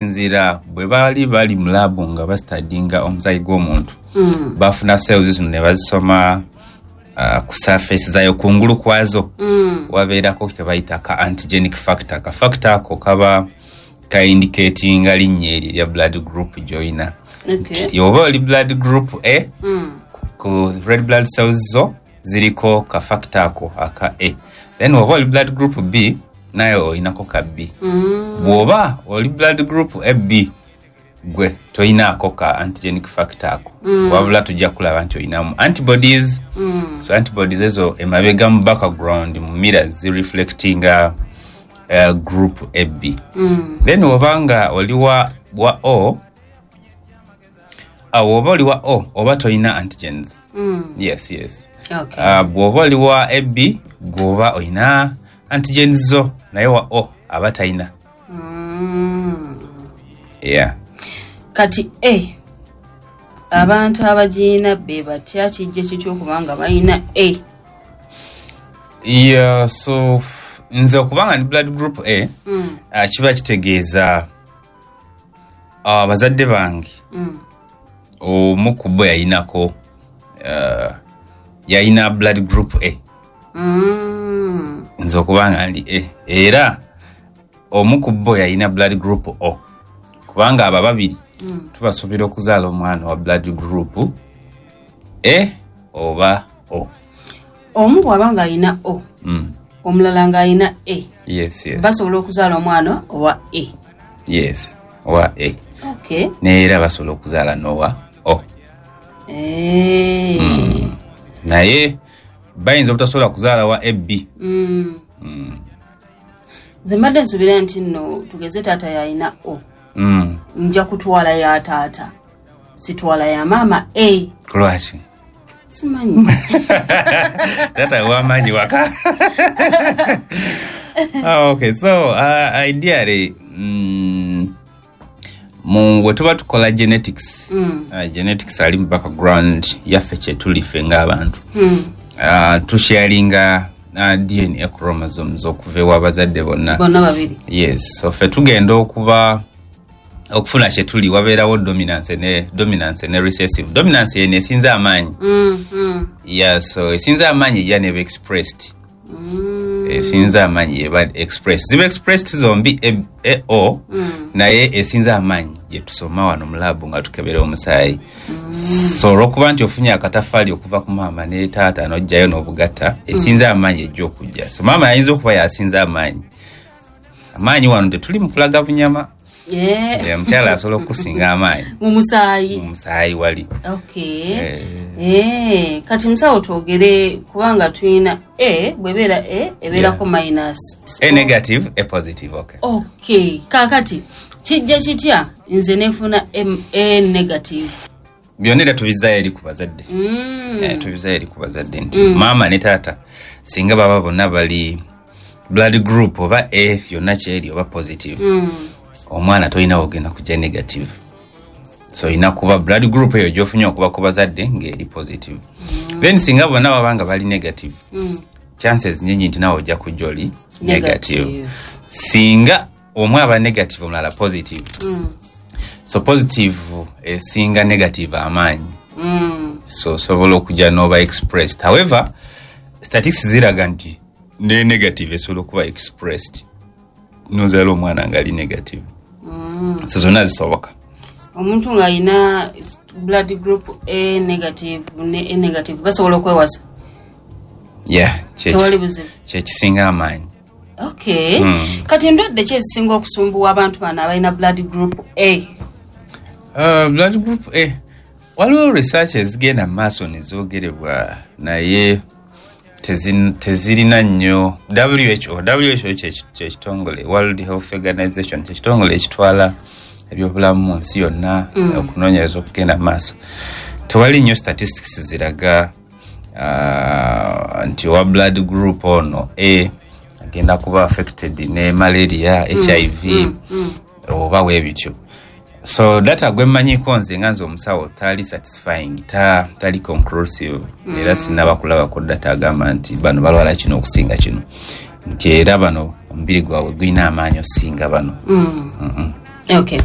Nzira bwe baali bali mu lab nga bastudyinga omusaayi gw'omuntu, bafuna cells zino ne bazisoma ku surface zayo, kungulu kwazo wabeerako ke bayita ka antigenic factor. Ka factor ako kaba ka indicatinga linnya eryo erya blood group gy'olina. Oba oli blood group A, ku red blood cells zo ziriko ka factor ako aka A. Then oba oli blood group B, naye olinako ka B. Bw'oba oli blood group AB, gwe toyinaako ka antigenic factor ako, wabula tujja kulaba nti olinamu antibodies. So antibodies ezo emabega mu background mu mirrors zireflectinga group AB. Then oba nga oli wa O, bw'oba oli wa O oba toyina antigens. Yes. Bw'oba oli wa AB, gweoba olina antigens zo, naye wa O aba talina. Yeah. Kati A, abantu abagirina be batya? Kijja kitya okubanga balina A? Yeah, so nze okubanga ni blood group A, kiba kitegeeza abazadde bange omu ku bo yayinako yayina blood group A. Nze okubanga ndi A, era omu ku bo yayina blood group O, kubanga abo babiri tubasuubira okuzaala omwana wa blood group A oba O. Omu bw'aba ng'alina O, omulala ng'alina A, Yes. basobola okuzaala omwana owa A? Yes, owa A. Neera basobola okuzaala n'owa O. Naye bayinza obutasobola kuzaala wa AB. Nze mbadde nsuubira nti nno tugeze taata yalina O, nja kutwala ya taata, sitwala ya maama A. Lwaki? Simanyi. Taata wamaanyi waka. Ah, okay, so ideally, mu bwe tuba tukola genetics, genetics ali mu background yaffe kyetuli ffe ng'abantu, tusharinga DNA chromosomes okuva ewa abazadde bonna. Bonna babiri. Yes, so ffe tugenda okuba okufuna kyetuli, wabeerawo dominance ne recessive. Dominance yeno esinza amaanyi. Yeah, so esinza amaanyi ejja neba expressed. Esinza amaanyi eba expressed, ziba expressed zombi AO, naye esinza amaanyi gye tusoma wano mu lab nga tukebera omusaayi. So olwokuba nti ofunye akatafaali okuva ku maama ne taata n'ojjayo n'obugatta, esinza amaanyi ejja okujja. So maama yayinza okuba yasinza amaanyi. Amaanyi wano tetuli mu kulaga bunyama. Omukyala asobola okusinga amaanyi mu musaayi. Mu musaayi wali. Kati musawo, twogere kubanga tulina A, bwebeera A ebeerako minus. A negative, A positive, okay. Okay, kakati kijja kitya nze nenfuna A negative? Byonna era tubizaayo eri ku bazadde. Tubizaayo eri ku bazadde nti maama ne taata singa baba bonna bali blood group oba A yonna kyeri oba positive, omwana tolina wogenda kujja negative. So olina kuba blood group eyo gyofunye okuba ku bazadde ng'eri positive. Then singa bonna baba nga bali negative, chances nyingi nti nawe ojja kujja oli negative. Negative. Singa omu aba negative, omulala positive, so positive esinga negative amaanyi. So osobola okujja n'oba expressed. However, statistics ziraga nti ne negative esobola okuba expressed nozaala omwana nga ali negative. So zonna zisoboka. Omuntu ng'alina blood group A negative ne A negative basobola okwewasa? Yeah. Tewali buzibu. Kyekisinga amaanyi. Okay. Kati ndwadde ki ezisinga okusumbuwa abantu bano abalina blood group A? Blood group A, waliwo research ezigenda mu maaso nezoogerebwa, naye tezirina nnyo. WHO kyekitongole, World Health Organization, kyekitongole ekitwala ebyobulamu mu nsi yonna, okunoonyereza okugenda mu maaso. Tewali nnyo statistics ziraga nti owa blood group ono A agenda kuba affected ne malaria, HIV oba weebityo. So data gwe mmanyiko nze nga nze omusawo tali satisfying, tali conclusive. Era sinaba kulabako data agamba nti bano balwala kino okusinga kino, nti era bano omubiri gwabwe gulina amaanyi osinga bano. Okay.